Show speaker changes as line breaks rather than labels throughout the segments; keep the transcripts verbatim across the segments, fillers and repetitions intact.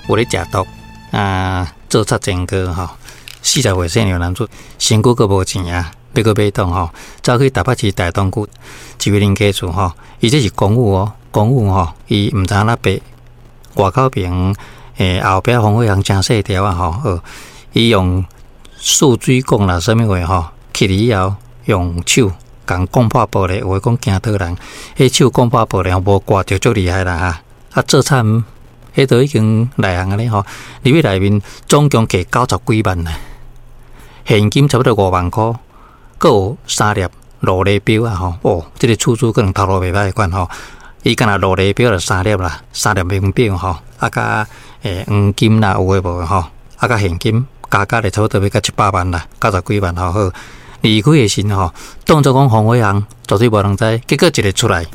有咧食毒啊，做賊前科吼，四十歲成年男子，身軀閣無錢啊，欲閣買當吼，走去台北市大東區一位鄰家厝吼，伊這是公寓哦，公寓吼，伊毋知影哪爬外口爿欸後壁防火巷誠細條啊吼，呃，伊用欶水管啦，啥物貨吼，去以後用手共摃破玻璃，有的講驚倒人，彼手摃破玻璃吼，無割著足厲害啦哈，啊做賊，彼都已經內行按呢吼，入去內面總共摕九十幾萬啦，現金差不多五萬箍，閣有三粒勞力錶啊吼，哦，這個厝主可能頭路袂歹款吼，伊敢若勞力錶就三粒啦，三粒名錶吼，啊佮欸黃金啦有的無的吼，啊佮現金加加咧差不多欲到一百萬啦，九十幾萬吼好。離開的時吼，當作講防火巷絕對無人知，結果一个出來，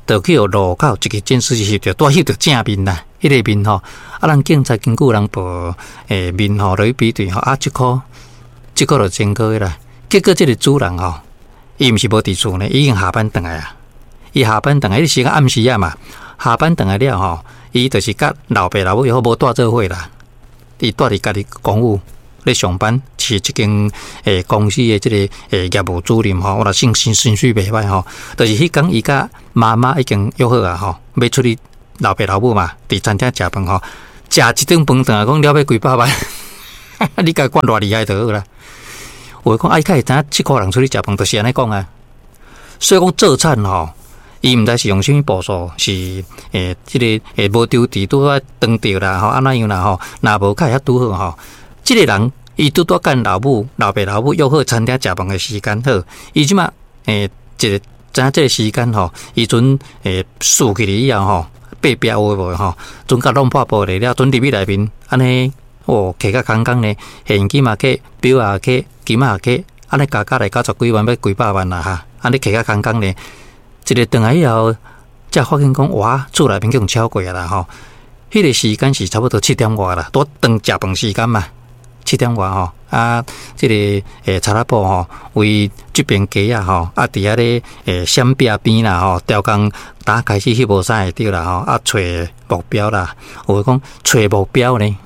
就去予路口一个監視器翕著，拄翕著正面啦，彼个面吼，啊，咱警察根據人報欸面吼落去比對吼，啊，這箍這箍就前科的啦。結果這个主人吼，伊毋是無佇厝呢，伊已經下班轉來啊。伊下班轉來，彼時間暗時啊嘛，下班轉來了吼，伊就是佮老爸老母猶好無蹛做伙啦，伊蹛佇家己公寓咧上班，是一間欸公司的這个欸業務主任吼，我若薪薪薪水袂歹吼，就是彼工伊佮媽媽已經約好啊吼，欲出去老爸老母嘛，佇餐廳食飯吼，食一頓飯轉來講了欲幾百萬，你共看偌厲害就好啦。有的講啊，伊較會知影這箍人出去食飯，就是按呢講啊。所以講做賊吼，伊毋知是用啥物步數，是欸這个欸無丟佇拄仔當著啦吼，按怎樣啦吼，若無較會遐拄好吼。這个人伊拄拄佮老母、老爸、老母約好餐廳食飯的時間好，伊這馬欸一个知影這个時間吼，伊陣欸輸去以後吼，爬壁有的無吼，陣共弄破玻璃了，陣入去內面，按呢哦，摕甲空空呢，現金嘛摕，錶也摕，金仔也摕，按呢加加來九十幾萬，欲幾百萬啦哈，按呢摕甲空空呢，一个轉來以後，才發現講哇，厝內面去予抄過啊啦吼，彼个時間是差不多七點外啦，拄轉食飯時間嘛，七點外吼，啊，這个欸賊仔埔吼，為這邊街仔吼，啊，佇遐咧欸閃壁邊啦吼，刁工打開始翕無啥會著啦吼，啊，揣目標啦，有的講揣目標呢，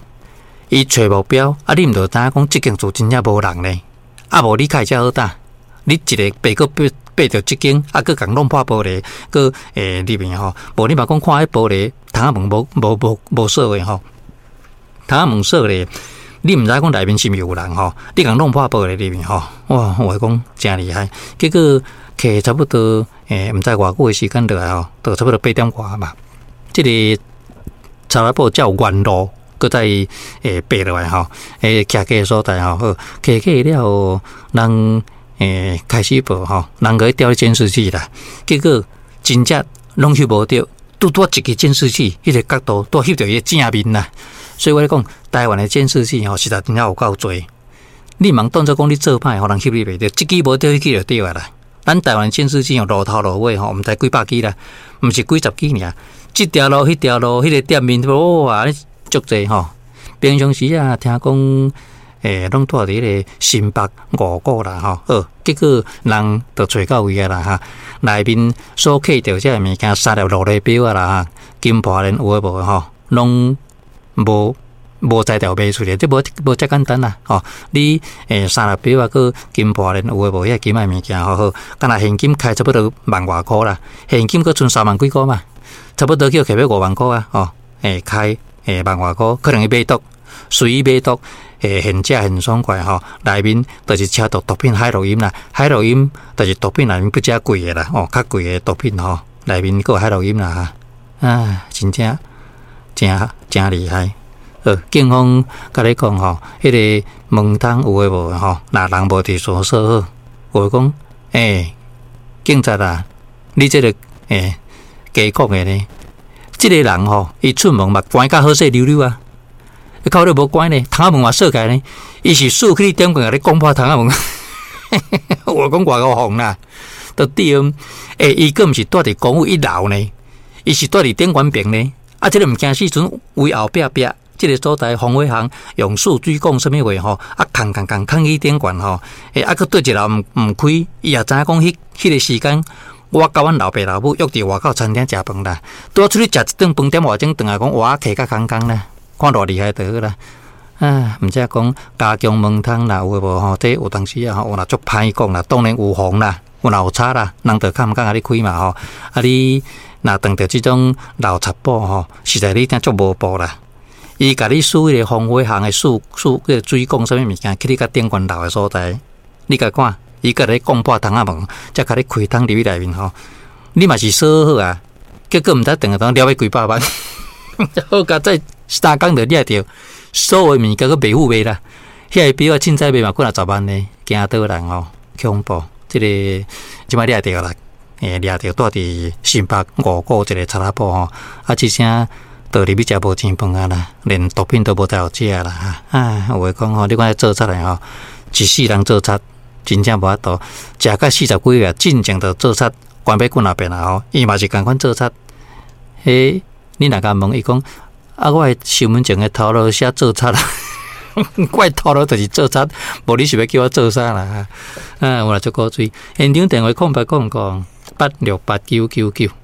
伊揣目標，啊，你毋著知影講這間厝真正無人呢，啊，無你較會遮好膽，你一个爬閣爬爬著這間，啊，閣共弄破玻璃，閣欸入面吼，無你嘛講看彼玻璃窗仔門無無無無鎖的吼，窗仔門鎖咧，你毋知講內面是毋是有人吼，你共弄破玻璃入面吼，哇，我講誠厲害，結果摕差不多欸，毋知偌久的時間落來吼，都差不多八點外嘛，這个賊仔埔才有原路，閣再欸爬落來吼，欸，徛家的所在吼，好，徛家了後，人欸開始報吼，人閣去調監視器啦，結果真正攏翕無著，拄拄一个監視器，彼个角度拄翕著伊的正面啦。所以我咧講，台灣的監視器吼，實在真正有夠濟。你毋通當作講你做歹，予人翕你袂著，這支無著，彼支就對啊啦。咱台灣監視器哦，路頭路尾吼，毋知幾百支啦，毋是幾十支爾。這條路、彼條路、彼个店面，哇，足濟吼。平常時啊，聽講，欸，攏蹛佇彼个新北五股啦吼，好，結果人就揣到位啊啦哈。內面所摕著這个物件，三粒勞力錶啊啦哈，金破鏈有的無的吼，攏無無才調賣出來，這無無遮簡單啦吼。你欸三粒錶啊，閣金破鏈有的無遐金仔物件吼好，敢若現金開差不多萬外箍啦，現金閣賰三萬幾箍嘛，差不多去摕欲五萬箍啊，吼，欸開欸萬外箍，可能伊買毒，隨意買毒，欸現食現爽快吼，內面就是車毒毒品海洛因啦，海洛因就是毒品內面比較貴的啦，哦，較貴的毒品吼，內面閣有海洛因啦，哈，啊，真正誠誠厲害。呃，警方共你講吼，彼个門窗有的無的吼，若人無佇厝鎖好，有的講，欸，警察啊，你這个欸假講的呢？這个人吼，伊出門嘛關甲好勢溜溜啊，靠你無關呢，窗仔門嘛鎖起來呢，伊是豎起點棍共你摃破窗仔門，我講偌夠瘋啦，都對，欸，伊閣毋是蹛佇公寓一樓呢，伊是蹛佇頂懸爿呢，啊，這个毋驚死陣圍後壁壁。這个所在防火巷用欶水管啥物貨吼，啊，崁崁崁崁去頂懸吼，欸，啊，閣對一樓毋毋開，伊也知影講彼彼个時間，我佮阮老爸老母約佇外口餐廳食飯啦，拄仔出去食一頓飯點外鐘轉來講，哇，摕甲空空啦，看偌厲害就好啦。啊，毋知講加強門通啦，有的無吼？這有當時啊，吼，有若足歹講啦，當然有防啦，有若有賊啦，人就較毋敢共你開嘛吼。啊，你若碰著這種老賊寶吼，實在你聽足無步啦。伊共你輸彼個防火巷的輸輸彼個水管啥物物件，去你較頂懸樓的所在，你共看，伊共你摃破窗仔門，才共你開通入去內面吼。你嘛是鎖好啊，結果毋知轉來當了欲幾百萬，好佳哉三工就掠著。所有物件閣袂赴賣啦，遐个錶仔凊彩賣嘛幾若十萬呢，驚倒人吼，恐怖！這个這擺掠著啦，欸，掠著蹛佇新北五股一个賊仔埔吼，啊，這聲倒入去食無錢飯啊啦，連毒品都無才有食啦，啊，有話講吼，你看這做賊的吼，一世人做賊，真正無法度，食甲四十幾歲，進前就做賊，關欲幾若遍啊吼，伊嘛是仝款做賊。彼你若共問伊講，啊！我的身份證的頭路寫做賊啦，我的頭路就是做賊，無你是欲叫我做啥啦？啊，有啦，足古錐。現場電話空八空空八六八九九九。